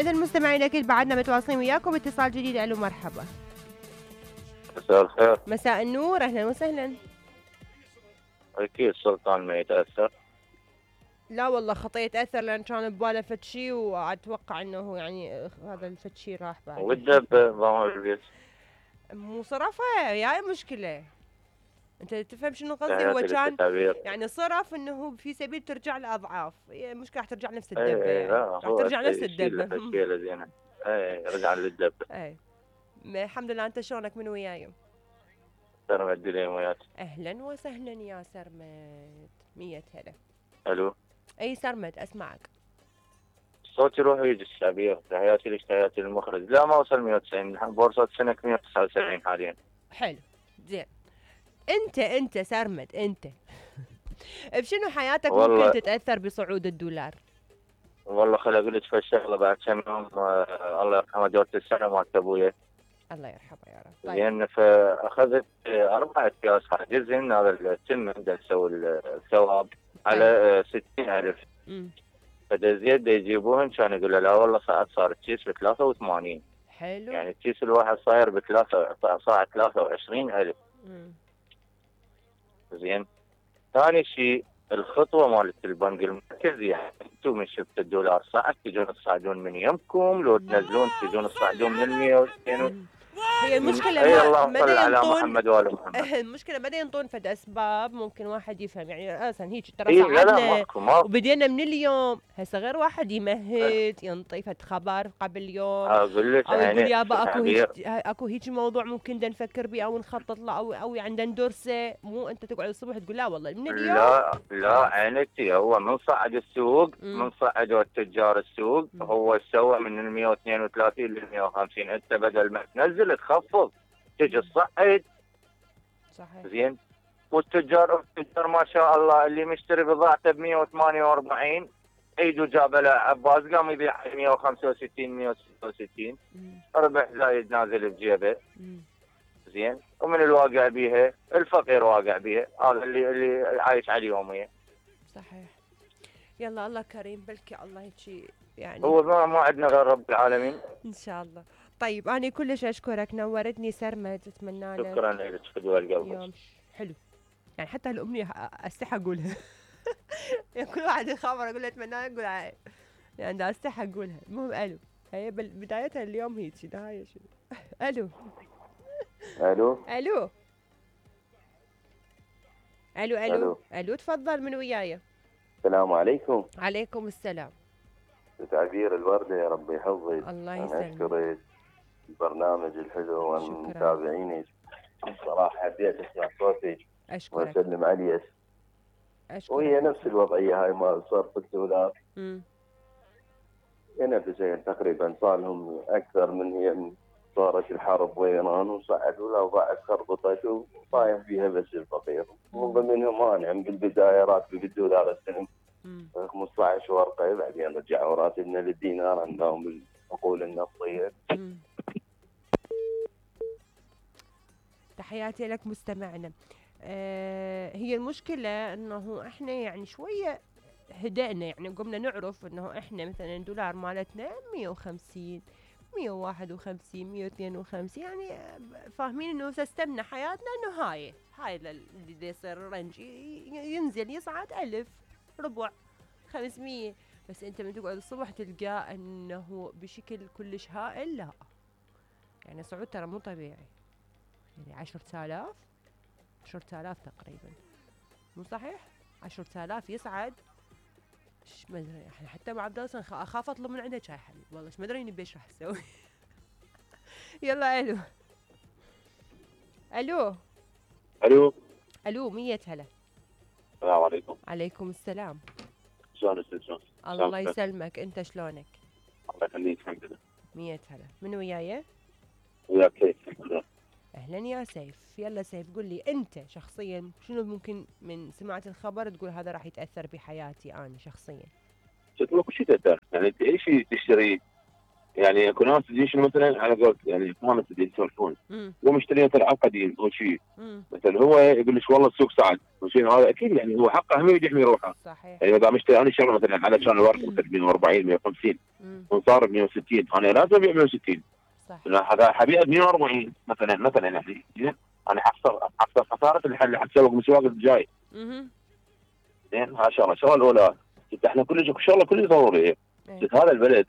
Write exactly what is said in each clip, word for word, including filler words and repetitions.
إذا المستمعين أكيد بعدنا متواصلين وياكم اتصال جديد. ألو مرحبا. مساء الخير. مساء النور، أهلا وسهلا. أكيد سلطان ما يتأثر. لا والله خطية يتأثر لأن كان بباله فد شي وأتوقع إنه يعني هذا الفد شي راح بعد. والدب ضامن البيت. مو صرفه يا مشكلة. أنت تفهم شنو قصدي؟ هو كان يعني صرف إنه في سبيل ترجع لأضعاف، مشكلة راح ترجع نفس الدبة ايه يعني. راح ترجع نفس الدبة. التشكيلة زينة. ايه رجع للدبة. ايه الحمد لله. أنت شلونك من وياي؟ سرمد اليوم وياك. أهلا وسهلا يا سرمد. مية هلا. ألو. أي سرمد أسمعك. صوتي يروح ويجي الشعبية. تحياتي لك تحياتي للمخرج. لا ما وصل مية وتسعين، بورصة سنة مية وتسعة وسبعين حاليا. حلو زين. أنت أنت سرمد أنت بشنو حياتك ممكن تتأثر بصعود الدولار؟ والله خل أقول لك فالشغلة بعد كم يوم آه الله يرحمه دورة السنة مالت أبويا. الله يرحمه يا رب. طيب. زين فأخذت أربع أكياس حاجزهن هذا التم بدنا نسوي الثواب على ستين ألف. فدزيد يجيبوهن كان يقول لا والله صعد صار الكيس ب ثلاثة وثمانين. حلو. يعني الكيس الواحد صاير بثلاثة صاع ثلاثة وعشرين ألف. زين. ثاني شيء الخطوة مالت البنك المركزي، يعني انتم من شفت الدولار صعد تجون تصعدون من يمكم، لو تنزلون تجون تصعدون من مية وستين. هي المشكلة اي الله ما على محمد وآل محمد. المشكلة ما ينطون فد أسباب ممكن واحد يفهم يعني أصلا هيك ترى إيه صعدنا وبدينا من اليوم. هسه غير واحد يمهد ينطي فد خبر قبل يوم أقول لك أو يقول يابا أكو هيك أكو هيك موضوع ممكن دا نفكر به أو نخطط له أو أو عندنا ندرسه. مو أنت تقعد الصبح تقول لا والله من اليوم. لا لا عينتي هو من صعد السوق من صعدوا التجار السوق م. هو سوى من ال مية واثنين وثلاثين لل مية وخمسين. أنت بدل ما تنزل تخفض تجي تصعد. صحيح. زين. والتجار التجار ما شاء الله اللي مشتري بضاعته ب مية وثمانية وأربعين ايده جابه له عباس قام يبيع مية وخمسة وستين مية وستة وستين ربح زايد نازل بجيبه. زين. ومن الواقع بيها الفقير واقع بيها. هذا اللي اللي عايش على يوميه. صحيح. يلا الله كريم بلكي الله هيك يعني هو ما, ما عندنا غير رب العالمين ان شاء الله. طيب انا كلش اشكرك نورتني سرمد. اتمنى لك شكرا لك فدوى القلب. يوم حلو يعني حتى الامنيه استحي اقولها. يعني كل واحد يخابر اقول له اتمنى لك اقول يعني دا استحي اقولها. المهم الو هي بدايتها اليوم هيك نهايه شنو. الو الو الو الو الو الو تفضل من وياي. السلام عليكم. عليكم السلام. تعبير الوردة يا ربي يحفظك. الله يسلمك. أشكرك البرنامج الحلو والمتابعينك. صراحة حبيت أسمع صوتك. أشكرك. وأسلم عليك. أشكرك. وهي نفس الوضعية هاي مال صرف الدولار. امم. نفسين تقريبا صار لهم أكثر من هي صارت الحرب وإيران وصعدوا الأوضاع خربطت وصايم فيها بس الفقير. ومنهم أنا بالبداية راتبي بالدولار السنة خمسة عشر ورقة بعدين رجعوا راتبنا للدينار عندهم بالعقول النفطية. تحياتي لك مستمعنا. آه هي المشكلة انه احنا يعني شوية هدأنا يعني قمنا نعرف انه احنا مثلا الدولار مالتنا مية وخمسين مية وواحد وخمسين مية واثنين وخمسين يعني فاهمين انه سيستمنا حياتنا انه هاي هاي اللي يصير رنج ينزل يصعد ألف ربع خمسمية. بس انت من تقعد الصبح تلقى انه بشكل كلش هائل. لا يعني صعود ترى مو طبيعي. يعني عشرة آلاف عشرة آلاف تقريبا مو صحيح. عشرة آلاف يصعد ما ادري احنا حتى مع عبد الله اخاف اطلب من عنده شاي حليب والله ايش ما ادري نبي ايش راح اسوي. يلا الو الو الو الو مية هلا. السلام عليكم. عليكم السلام. شلونك شلونك؟ الله يسلمك. انت شلونك؟ الله يخليك الحمد لله. مية هلا. من وياي؟ وياك سيف. اهلا يا سيف. يلا سيف قل لي انت شخصيا شنو ممكن من سمعت الخبر تقول هذا راح يتاثر بحياتي انا شخصيا؟ شكله كل شيء تاثر يعني اي شيء تشتري يعني اكو ناس تجيش مثلا على قولت يعني فهمت اللي يسولفون ومشترين العاب قديم او شيء مثلا هو يقول لك والله السوق صعد وشيء هذا اكيد يعني هو حقه هم يحمي روحه صحيح. يعني اذا مشتري انا شغله مثلا على كان الورق مثلا مية وأربعين مية وخمسين وصار ب مية وستين انا لازم ابيع مية وستين صح هذا حبيع ب مية وأربعين مثلا مثلا يعني انا حخسر حخسر خساره اللي حتسوق مسواق الجاي. زين هاي شغله الشغله الاولى احنا كل شيء شغله كل ضروري هذا البلد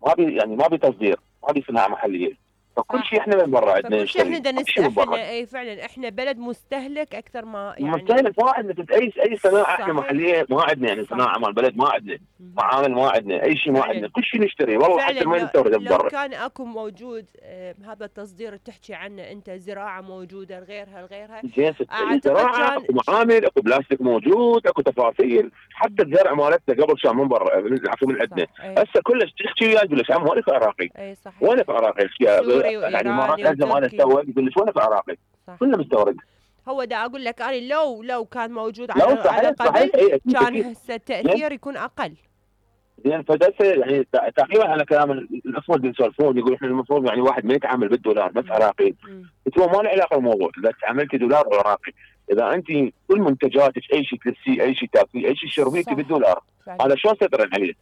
ما بي يعني ما بي تصدير ما بي صناعه محليه فكل شيء احنا من برا عندنا كل شيء احنا بدنا نستهلك اي فعلا احنا بلد مستهلك اكثر ما يعني مستهلك ما عندنا اي اي صناعه احنا محليه ما عندنا يعني صناعه مال البلد ما عندنا معامل ما عندنا اي شيء ما عندنا كل شيء نشتري والله حتى ما نستورد من برا. لو كان اكو موجود آه هذا التصدير اللي تحكي عنه انت زراعه موجوده غيرها غيرها زراعه اكو معامل اكو بلاستيك موجود اكو تفاصيل حتى الزرع مالتنا قبل كان من برا من عندنا هسه كلش تحكي وياه يقول لك عم وين عراقي اي صحيح وين عراقي يعني ما لازم انا اسوق يقول لك وين عراقي كله مستورد. هو دا اقول لك انا لو لو كان موجود على على قبل كان هسه التاثير يكون اقل. زين فدرس يعني تقريبا على كلام الاخوه اللي يسولفون يقول احنا المفروض يعني واحد ما يتعامل بالدولار بس عراقي. قلت له ما له علاقه بالموضوع اذا تعاملتي دولار او عراقي اذا انت كل منتجاتك اي شيء تلبسيه اي شيء تاكليه اي شيء تشربيه بالدولار هذا شلون سيطرن عليه؟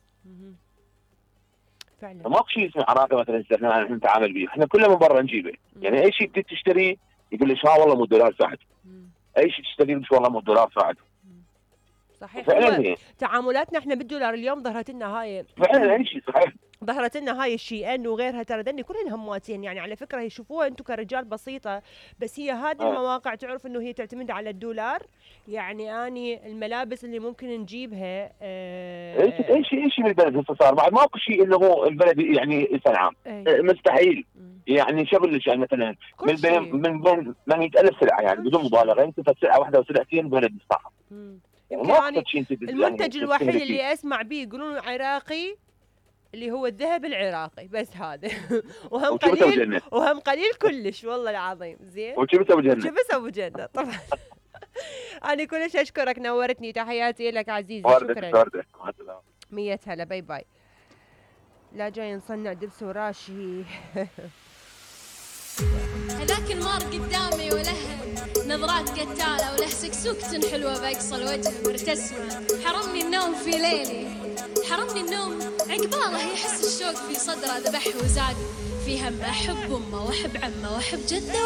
فعلا ماكو شيء اسمه عراقي مثلا احنا نتعامل به احنا كله من برا نجيبه يعني اي شيء تشتريه يقول لك ها والله مو الدولار صعد اي شيء تشتريه يقول والله مو الدولار صعد صحيح فعلا تعاملاتنا احنا بالدولار اليوم ظهرت لنا هاي فعلا اي شيء صحيح ظهرت لنا هاي الشي ان وغيرها ترى دني كلهن هماتين يعني على فكره يشوفوها انتم كرجال بسيطه بس هي هذه المواقع تعرف انه هي تعتمد على الدولار يعني اني الملابس اللي ممكن نجيبها اه اي شيء اي شيء بالبلد هسه صار بعد ماكو شيء انه هو البلد يعني يصنعه مستحيل يعني شو اقول لك يعني مثلا من بين من بين مئة ألف سلعه يعني بدون مبالغه انت سلعه واحده وسلعتين بلد يصنعها يعني المنتج الوحيد اللي اسمع به يقولون عراقي اللي هو الذهب العراقي بس هذا وهم قليل وهم قليل كلش والله العظيم. زين وشو بس ابو جنة شو بس ابو جنة طبعا. انا كلش اشكرك نورتني تحياتي لك عزيزي شكرا مية هلا باي باي. لا جاي نصنع دبس وراشي هذاك المار قدامي وله نظرات قتالة وله سكسوكة حلوة بأقصى الوجه مرتسمة حرمني النوم في ليلي حرمني النوم عقباله يحس الشوق في صدره ذبح وزاد في هم أحب أمه وأحب عمه وأحب جده